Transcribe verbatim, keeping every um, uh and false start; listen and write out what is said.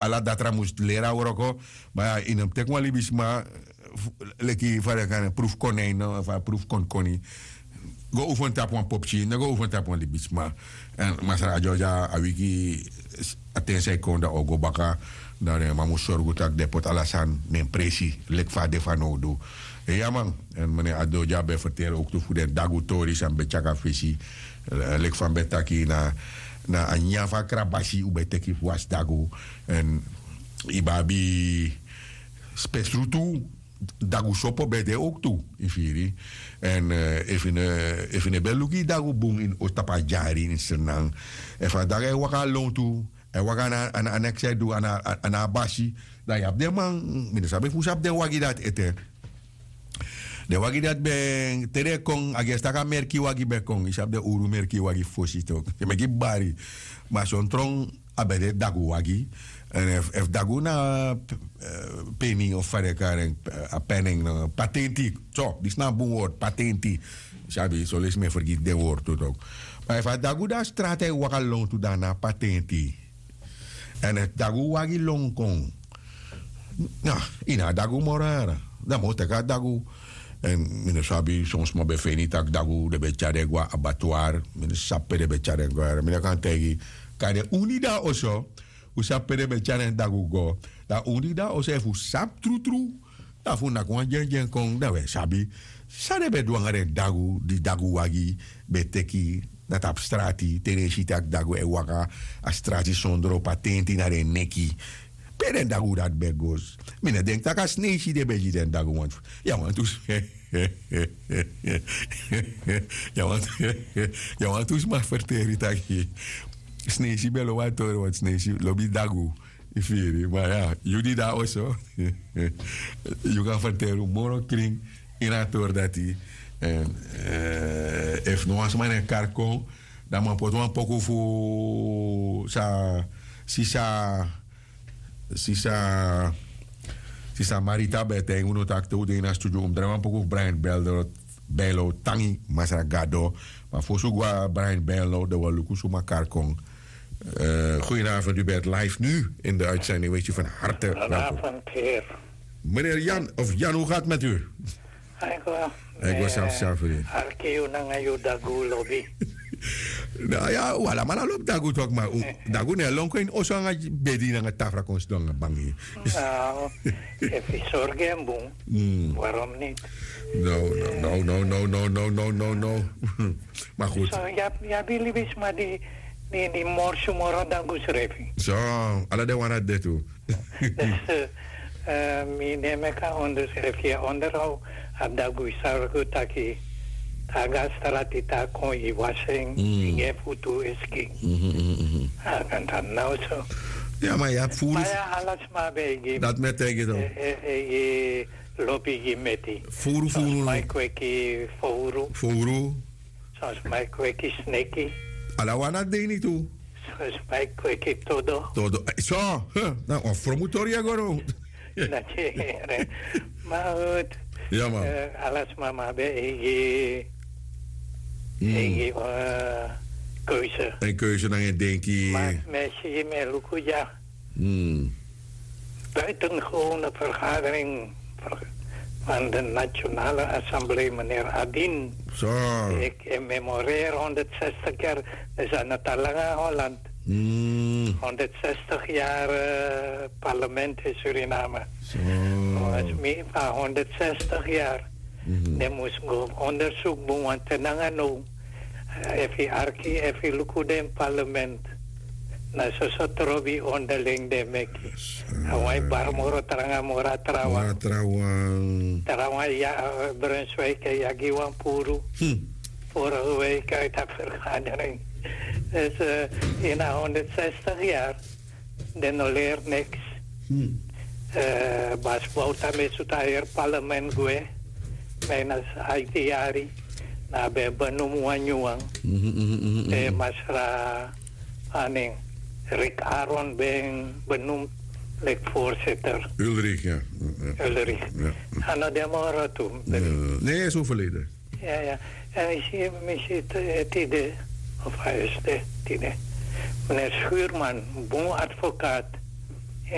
ala datra mus leri a wroko. Ma yu no mus teki wan libisma leki fa den kan proef konei no fa proef konkoni. Go oefen tapu wan popki no go oefen tapu wan libisma. Èn masra a dyodya a wiki a ten san yu kon dan o go baka. Dan den man mus sorgu tak' den poti ala sani na en presi leki fa a de fanowdu. Iya man. Èn mene a dyodya ben ferteri owktu fu den dagu tori san mi ben tyari na fesi. Leki fa mi ben taki na a nyanyan fu a krabasi un ben teki fu wasi dagu. Èn yu ben abi spesrutu dagu sopo ben de owktu. Yu firi? Èn efu yu no ben luku yu dagu bun ini ostapu a dyari ini srinan, efu a dagu e waka na lontu, e waka na a neks e du a na a basi, dan yu abi den man. Mi no sabi efu un sabi den wagi dati ete. Den wagi dati ben te den e kon a gesi tak' a merki wagi ben kon yu sabi den uru merki wagi fosi tok den meki bari. Ma son tron a ben de dagu wagi. Èn efu dagu na peni of fa den e kari en, a peni en patenti. So disi na a bun wortu patenti. Yu sabi son leisi mi e fergiti den wortu tu tok. Ma efu a dagu de na strati a e waka lontu dan na a patenti. Èn efu dagu wagi lon kon, ini a dagu moro yara dan mi o teki a dagu. Èn mi no sabi son sma ben feni tak' dagu den ben tyari den go na abatuar. Mi no sabi pe den ben tyari den go yara mi no kan taigi. Kande un di de na oso un sabi pe den ben tyari den dagu go. Dan un di de na oso efu un sabi trutru, dan fu un naki wan dyendyen kon dan un e sabi san den ben du nanga den dagu di dagu wagi ben teki na tapu strati te den e si tak' dagu e waka a strati sondro patenti na den neki. Pe den dagu dati ben go? Mi no denki tak' a sneisi den ben gi den dagu wantu. Yu a wantu sma ferteri taki sneisi ben lobi a tori wantu sneisi lobi dagu. Yu firi ma ya yu di de na oso yu kan ferteri un moro krin ini a tori dati. Èn efu no wan sma na en kari kon dan mi o poti wan poku fu sa sisa sisa sisa marita ben e taigi unu tak' te un de ini a studio un mus drai wan poku fu brian bello tangi masra gado. Ma fosi un go na brian bello dan un o luku suma kari kon. Goedenavond u bent live nu in de uitzending wees u van harte welkom. Meneer Jan of Jan hoe gaat met u? Ego. Ego safsafri. Arki yu nanga yu dagu lobi. Na ya wala mala lobi dagu tok ma dagu ne lonko in oso anga bedi nanga tafra kon sidon nanga bangi. Efi sorgen bun. Warom nit? No no no no no no no no no no. Ma goed. So ya bili bisma di di morsu moro dagu srefi. So ala de wana de tu. Mi ne meki a onderskrifti e onderhow a dagu yu sabi go taki. Taga strati ta kon yu wasi en yu gi en futu e skin. A kan tan now so. Ya ma yu abi furu. Ala sma ben e gi dati mi e taigi yu. Lobi gi meti. Furu furu. Sma e kweki fowru. Fowru. Son sma e kweki sneki. Ala wan na dini tu. Son sma e kweki todo. Todo so. Na wan fromu tori ya go now. Dati. Ma hut. Ya ma. Ala sma ma ben eigi eigi keuze. En keuze nanga en denki. Ma mi e si mi e luku dya. Buitengewone vergadering van de Nationale Assemblée, meneer Adin. Ik memoreer honderdzestig jaar, we zijn het al lang in Holland. Honderdzestig jaar parlement in Suriname. Volgens mij van honderdzestig jaar. Dan mus go onderzoek doen, want te nanga no. Efu yu arki efu yu luku den parlement, na soso trobi onderling den meki. A wan e bari moro tranga moro a trawan. Trawan ya brunswijk e yagi wan puru. Vorige week uit a vergadering. Dus in a honderdzestig yari den no leri niks. Basi bowta ben sutu a heri parlement gwe. Bijna aiti yari. Na ben benum wan nyun wan. Te masra aning rik aron ben benum leki voorzitter. Ulrich. A no den moro tu. Ne is overleden. Ya ya. En isi mi si tide of a este tide. Meneer schuurman, bun advokaat.